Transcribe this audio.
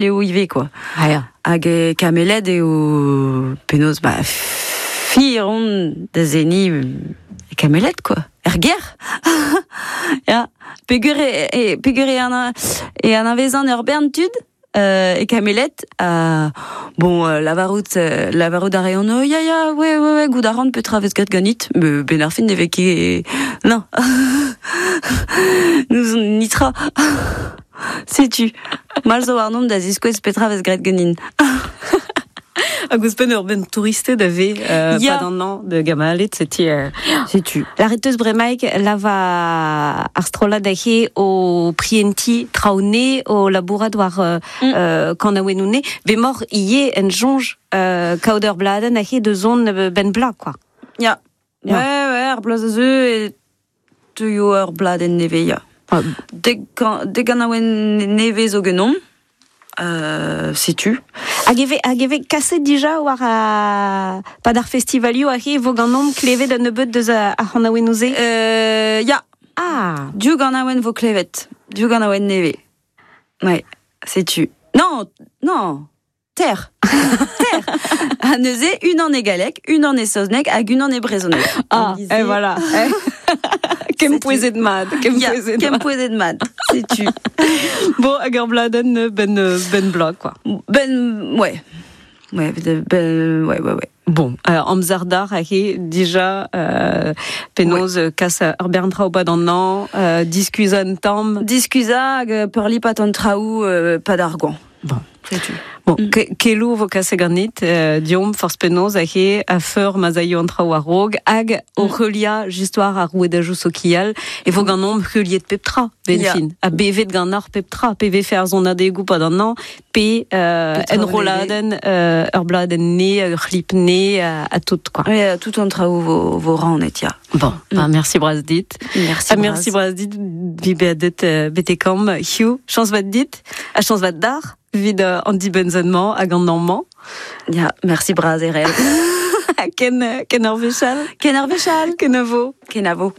Eo ivez quoi. Ah ya. Hag e Kameled eo penaos ba fir on da seniñ e Kameled quoi. Er gêr. Ya. Peogwir e, e, peogwir e, ana, e anavezan ur bern tud e Kameled. Bon, lavarout, lavarout a reont, oh, ya, ya, ouais, ouais, ouais, goût a ran petra vez graet ganit. Me ben ar fin ne vez ket... Non. N'ouzon nitra. Setu, mall zo warnon da ziskouez petra vez graet ganin. Hag ouzhpenn ur benn touristed a vez Ya. pad an hañv da Gamalet, setu Setu. Lâret teus bremaik lava ar strollad aze o prientiñ traoù nez, o labourat war kanaouennoù nez. Bemoc'h ivez en soñj kaout ur bladenn aze da zont benn bloaz, quoi. Ya. Ya. Ouais, ouais, ar bloaz a zeu e teuio ur bladenn nevez, ya. Dek, dek ganaouenn nevez zo ganeomp. Setu. Hag e vez, hag e vez kaset dija war a, pad ar festivalioù aze e vo ganeomp klevet un nebeud deus ar c'hanaouennoù-se? Ya. Ah. Div ganaouenn vo klevet. Div ganaouenn nevez. Ouais, setu. Non, non. Ter. Ter. Ha neuze, unan e galleg, unan e saozneg hag unan e brezhoneg. Ah, et voilà. Kempouezet mat. Kempouezet mat. Kempouezet mat, setu. Bon, hag ur bladenn ben, ben bloaz, quoi. Ben, ouais. Ouais, ben, ouais, ouais, ouais. Bon, amzer d'ar aze dija penaos kas ur bern traoù pad an hañv, diskuizhañ un tamm. Diskuizhañ hag peurlipat an traoù pad ar goañv. Bon. Setu. Bon, keloù vo kaset ganit, deomp forzh penaos aze a-feur ma'z aio an traoù a-raok hag o heuliañ just war ar rouedajoù sokial e vo ganeomp heuliet pep tra, ben fin. Ha bevet ganeoc'h pep tra, pe vefe ar sonadegoù pad an hañv, pe enrolladenn ur bladenn nez, ur c'hlip nez, ha tout, quoi. Ouais, tout an traoù vo, vo rannet, ya. Bon, bah, merci bras dit. Merci Ah, merci bras dit, vi beadet betekam hiziv. Chañs vat dit, ha chañs vat d'ar, evit an dibenn-mañ hag an hañv-mañ. Ya, merci bras Erel. Ken, ken ur wech all. Ken ur wech all. Kenavo. Kenavo.